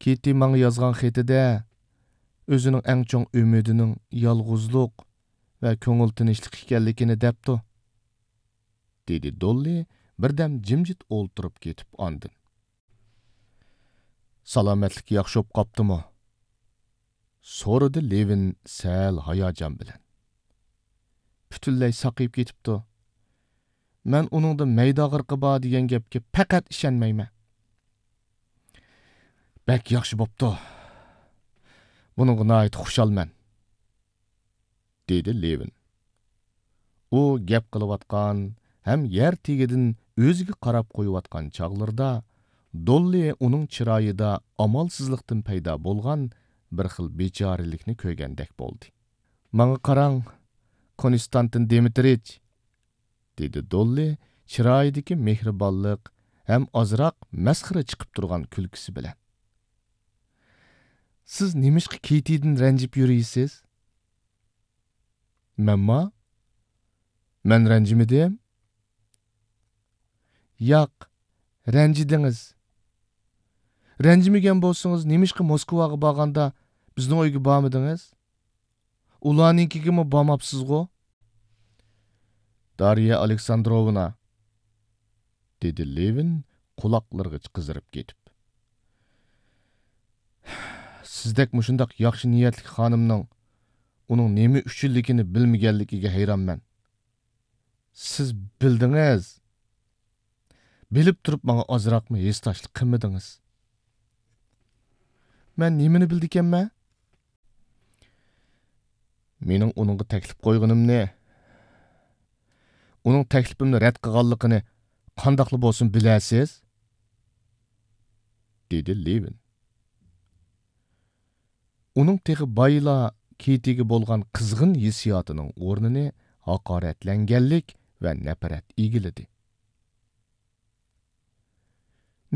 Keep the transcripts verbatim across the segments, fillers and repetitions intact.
كېتى ماڭا يازغان خېتىدە ئۆزىنىڭ ئەڭ چوڭ ئۈمىدىنىڭ يالغۇزلۇق ۋە كۆڭۈل تىنچلىق ئىكەنلىكىنى دەپتۇ، دېدى دوللى بىردەم جىمجىت ئولتۇرۇپ كېتىپ ئاندىن. سالامەتلىك ياخشى بولۇپ قاپتىمۇ؟ سورىدى لېۋىن سەل ھاياجان بىلەن. پۈتۈنلەي ساقىيىپ كېتىپتۇ. مەن ئۇنىڭدا مەيدە ئاغرىقى بار دېگەن گەپكە پەقەت ئىشەنمەيمەن. بەك ياخشى بوپتۇ. بۇنىڭغا ناھايىتى خۇشالمەن، دېدى لېۋىن. ئۇ گەپ قىلىۋاتقان ھەم يەر تېگىدىن ئۆزىگە قاراپ قويۇۋاتقان چاغلىرىدا، دوللى ئۇنىڭ چىرايىدا ئامالسىزلىقتىن پەيدا بولغان بىر خىل بىچارىلىكنى كۆرگەندەك بولدى. ماڭا قاراڭ، كونستانتىن دىمىترىچ، دېدى دوللى چىرايىدىكى مېھرىبانلىق ھەم ئازراق مەسخىرە چىقىپ تۇرغان كۈلكىسى بىلەن. سىز نېمىشقا كېتىدىن رەنجىپ يۈرىسىز؟ مەنما؟ مەن رەنجىمىدىم. ياق، رەنجىدىڭىز. رەنجىمىگەن بولسىڭىز، نېمىشقا موسكۋاغا بارغاندا بىزنىڭ ئۆيگە بارمىدىڭىز؟ ئۇلارنىڭكىگىمۇ بارماپسىزغۇ؟ دارىيە ئالېكساندروۋنا، دېدى لېۋىن قۇلاقلىرىغىچە قىزىرىپ كېتىپ. سىزدەك مۇشۇنداق ياخشى نىيەتلىك خانىمنىڭ ئۇنىڭ نېمە ئۈچۈنلۈكىنى بىلمىگەنلىكىگە ھەيرانمەن. سىز بىلدىڭىز. بىلىپ تۇرۇپ ماڭا ئازراقمۇ ھېسداشلىق قىلمىدىڭىز. مەن نېمىنى بىلدىكەنمەن؟ مېنىڭ ئۇنىڭغا تەكلىپ قويغىنىمنى، ئۇنىڭ تەكلىپىمنى رەت قىلغانلىقىنى قانداقلا بولسۇن بىلەسىز؟ دېدى لېۋىن. ئۇنىڭ تېخى بايىلا كېتىگە بولغان قىزغىن ھېسسىياتىنىڭ ئورنىنى ھاقارەتلەنگەنلىك ۋە نەپرەت ئىگىلىدى.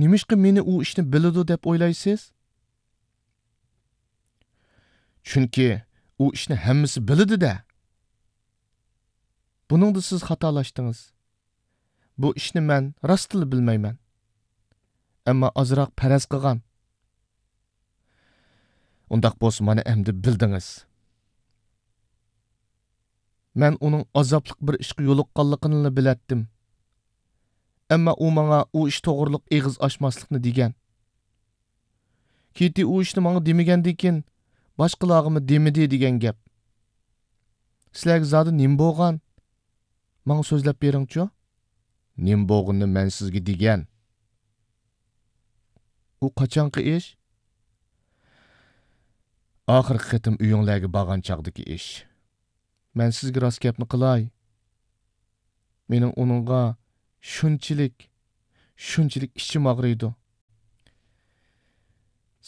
نېمىشقا مېنى ئۇ ئىشنى بىلىدۇ دەپ ئويلايسىز؟ چۈنكى ئۇ ئىشنى ھەممىسى بىلىدۇ-دە. بۇنىڭدا سىز خاتالاشتىڭىز. بۇ ئىشنى مەن راستلا بىلمەيمەن. ئەمما ئازراق پەرەز قىلغان. ئۇنداق بولسا مانا ئەمدى بىلدىڭىز. مەن ئۇنىڭ ئازابلىق بىر ئىشقا يولۇققانلىقىنىلا بىلەتتىم. ئەمما ئۇ ماڭا ئۇ ئىش توغرۇلۇق ئېغىز ئاچماسلىقنى دېگەن. كېتى ئۇ ئىشنى ماڭا دېمىگەندىن كېيىن، باشقىلارغىمۇ دېمىدى دېگەن گەپ. سىلەرگە زادى نېمە بولغان؟ ماڭا سۆزلەپ بېرىڭچۇ. نېمە بولغىنىنى مەن سىزگە دېگەن. ئۇ قاچانقى ئىش؟ ئاخىرقى قېتىم ئۆيۈڭلارگە بارغان چاغدىكى ئىش. مەن سىزگە راست گەپنى قىلاي. مېنىڭ ئۇنىڭغا شۇنچىلىك، شۇنچىلىك ئىچىم ئاغرىيدۇ.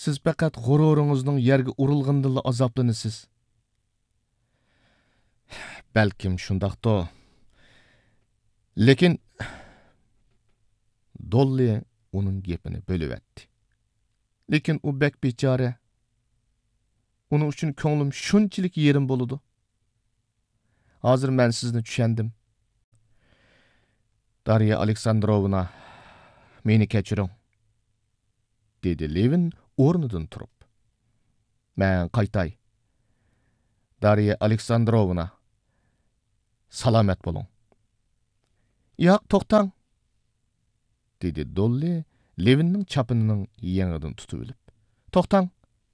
سىز پەقەت غۇرۇرىڭىزنىڭ يەرگە ئۇرۇلغىنىدىنلا ئازابلىنىسىز. بەلكىم شۇنداقتۇ. لېكىن، دوللى ئۇنىڭ گېپىنى بۆلۈۋەتتى. لېكىن ئۇ بەك بىچارە. ئۇنىڭ ئۈچۈن كۆڭلۈم شۇنچىلىك يېرىم بولىدۇ. ھازىر مەن سىزنى چۈشەندىم. دارىيا ئالېكساندروۋنا، مېنى كەچۈرۈڭ، دېدى لېۋىن ئورنىدىن تۇرۇپ. مەن قايتاي. دارىيا ئالېكساندروۋنا، سالامەت بولۇڭ. ياق، توختاڭ، دېدى دوللى لېۋىننىڭ چاپىنىنىڭ يېڭىدىن تۇتۇۋېلىپ. توختاڭ،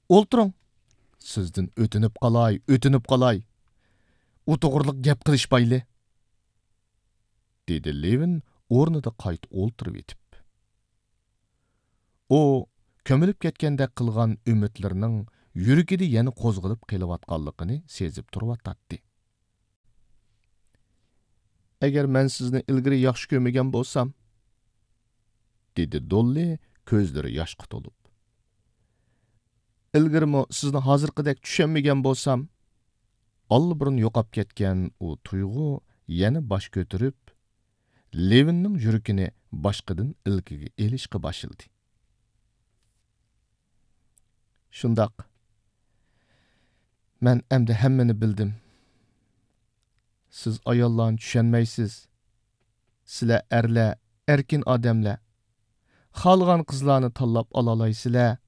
ئولتۇرۇڭ. سىزدىن ئۆتۈنۈپ قالاي، ئۆتۈنۈپ قالاي. ئۇ توغرىلىق گەپ قىلىشمايلى، دېدى لېۋىن ئورنىدا قايتا ئولتۇرۇۋېتىپ. ئۇ كۆمۈلۈپ كەتكەندەك قىلغان ئۈمىدلىرىنىڭ يۈرىكىدە يەنە قوزغىلىپ قېلىۋاتقانلىقىنى سېزىپ تۇرۇۋاتاتتى. ئەگەر مەن سىزنى ئىلگىرى ياخشى كۆرمىگەن بولسام، دېدى دوللى كۆزلىرى ياشقا تولۇپ. ئىلگىرىمۇ سىزنى ھازىرقىدەك چۈشەنمىگەن بولسام، ئاللىبۇرۇن يوقاپ كەتكەن ئۇ تۇيغۇ يەنە باش كۆتۈرۈپ، لېۋىننىڭ يۈرىكىنى باشقىدىن ئىلكىگە ئېلىشقا باشلىدى. شۇنداق. مەن ئەمدى ھەممىنى بىلدىم. سىز ئاياللارنى چۈشەنمەيسىز. سىلەر ئەرلەر ئەركىن ئادەملەر. خالىغان قىزلارنى تاللاپ ئالالايسىلەر.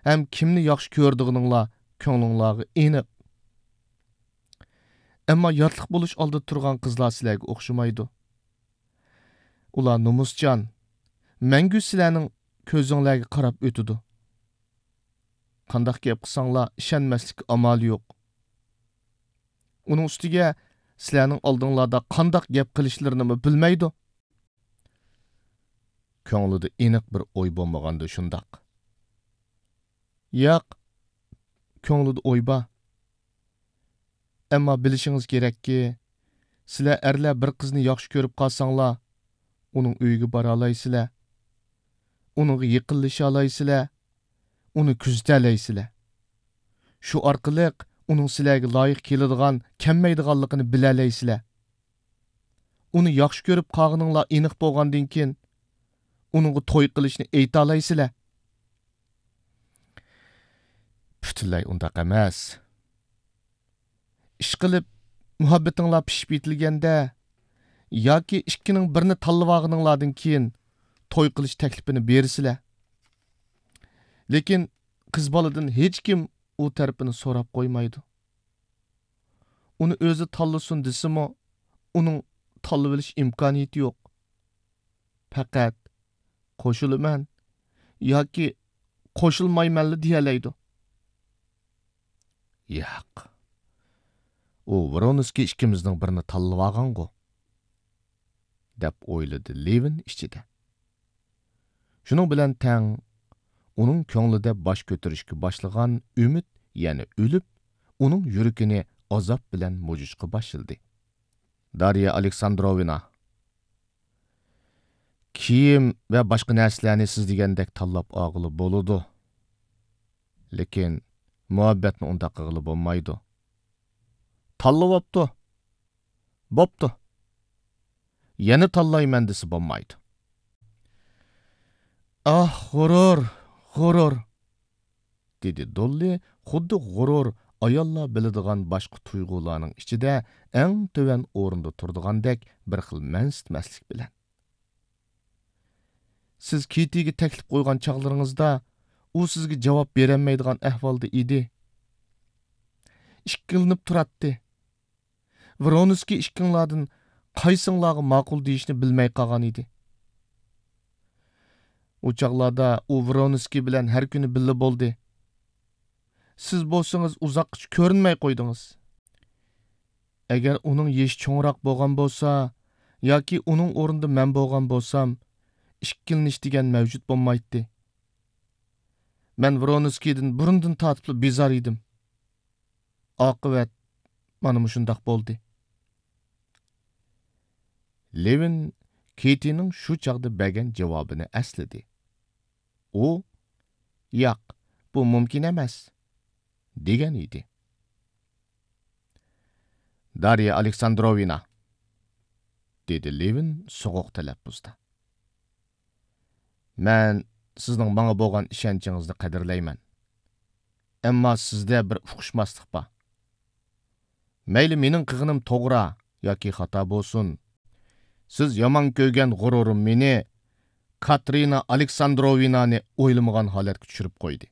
ھەم كىمنى ياخشى كۆرىدىغىنىڭلار كۆڭلۈڭلارغا ئېنىق. ئەمما ياتلىق بولۇش ئالدىدا تۇرغان قىزلار سىلەرگە ئوخشىمايدۇ. ئۇلار نومۇسجان، مەڭگۈ سىلەرنىڭ كۆزۈڭلارغا قاراپ ئۆتىدۇ. قانداق گەپ قىلساڭلار ئىشەنمەسلىككە ئامال يوق. ئۇنىڭ ئۈستىگە سىلەرنىڭ ئالدىڭلاردا قانداق گەپ قىلىشلىرىنىمۇ بىلمەيدۇ. كۆڭلىدە ئېنىق بىر ئوي بولمىغاندا شۇنداق. ياق، كۆڭلىدە ئوي بار. ئەمما بىلىشىڭىز كېرەككى، سىلەر ئەرلەر بىر قىزنى ياخشى كۆرۈپ قالساڭلار، ئۇنىڭ ئۆيىگە بارالايسىلەر. ئۇنىڭغا يېقىنلىشالايسىلەر. ئۇنى كۆزىتەلەيسىلەر. شۇ ئارقىلىق ئۇنىڭ سىلەرگە لايىق كېلىدىغان، كەلمەيدىغانلىقىنى بىلەلەيسىلەر. ئۇنى ياخشى كۆرۈپ قالغىنىڭلار ئېنىق بولغاندىن كېيىن، ئۇنىڭغا توي قىلىشنى ئېيتالايسىلەر. پۈتۈنلەي ئۇنداق ئەمەس. ئىشقىلىپ، مۇھەببىتىڭلار پىشىپ يېتىلگەندە ياكى ئىككىنىڭ بىرىنى تاللىۋالغىنىڭلاردىن كېيىن توي قىلىش تەكلىپىنى بېرىسىلەر. لېكىن قىز بالىدىن ھېچكىم ئۇ تەرىپىنى سوراپ قويمايدۇ. ئۇنى ئۆزى تاللىسۇن دېسىمۇ، ئۇنىڭ تاللىۋېلىش ئىمكانىيىتى يوق. پەقەت «قوشۇلىمەن» ياكى «قوشۇلمايمەنلا» دېيەلەيدۇ. ياق، ئۇ ۋرونسكىي ئىككىمىزنىڭ بىرىنى تاللىۋالغانغۇ، دەپ ئويلىدى لېۋىن ئىچىدە. شۇنىڭ بىلەن تەڭ، ئۇنىڭ كۆڭلىدە باش كۆتۈرۈشكە باشلىغان ئۈمىد يەنە ئۆلۈپ، ئۇنىڭ يۈرىكىنى ئازاب بىلەن مۇجۇشقا باشلىدى. دارىيا ئالېكساندروۋنا، كىيىم ۋە باشقا نەرسىلەرنى سىز دېگەندەك تاللاپ ئالغىلى بولىدۇ. لېكىن مۇھەببەتنى ئۇنداق قىلغىلى بولمايدۇ. تاللىۋاپتۇ. بوپتۇ. يەنە تاللايمەن دېسە بولمايدۇ. ئاھ، غۇرۇر، غۇرۇر! دېدى دوللى خۇددى غۇرۇر ئاياللار بىلىدىغان باشقا تۇيغۇلارنىڭ ئىچىدە ئەڭ تۆۋەن ئورۇندا تۇرىدىغاندەك بىر خىل مەنسىتمەسلىك بىلەن. سىز كېتىگە تەكلىپ قويغان چاغلىرىڭىزدا ئۇ سىزگە جاۋاب بېرەلمەيدىغان ئەھۋالدا ئىدى. ئىككىلىنىپ تۇراتتى. ۋرونسكىي ئىككىڭلاردىن قايسىڭلارغا ماقۇل دېيىشنى بىلمەي قالغان ئىدى. ئۇ چاغلاردا ئۇ ۋرونسكىي بىلەن ھەر كۈنى بىللە بولدى. سىز بولسىڭىز ئۇزاققىچە كۆرۈنمەي قويدىڭىز. ئەگەر ئۇنىڭ يېشى چوڭراق بولغان بولسا ياكى ئۇنىڭ ئورنىدا مەن بولغان بولسام، ئىككىلىنىش دېگەن مەۋجۇت بولمايتتى. مەن ۋرونسكىيدىن بۇرۇندىن تارتىپلا بىزار ئىدىم. ئاقىۋەت مانا مۇشۇنداق بولدى. لېۋىن كېتىنىڭ شۇ چاغدا بەرگەن جاۋابىنى ئەسلىدى. ئۇ، «ياق، بۇ مۇمكىن ئەمەس» دېگەن ئىدى. «دارىيا ئالېكساندروۋنا»، دېدى لېۋىن سوغۇق تەلەپپۇزدا. «مەن سىزنىڭ ماڭا بولغان ئىشەنچىڭىزنى قەدىرلەيمەن. ئەمما سىزدە بىر ئۇقۇشماسلىق بار. مەيلى مېنىڭ قىلغىنىم توغرا ياكى خاتا بولسۇن، سىز يامان كۆرگەن غۇرۇرۇم مېنى كاترىنا ئالېكساندروۋنانى ئويلىمىغان ھالەتكە چۈشۈرۈپ قويدى.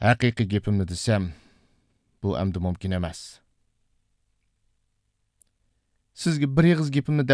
ھەقىقىي گېپىمنى دېسەم، بۇ ئەمدى مۇمكىن ئەمەس. سىزگە بىر ئېغىز گېپىمنى دەپ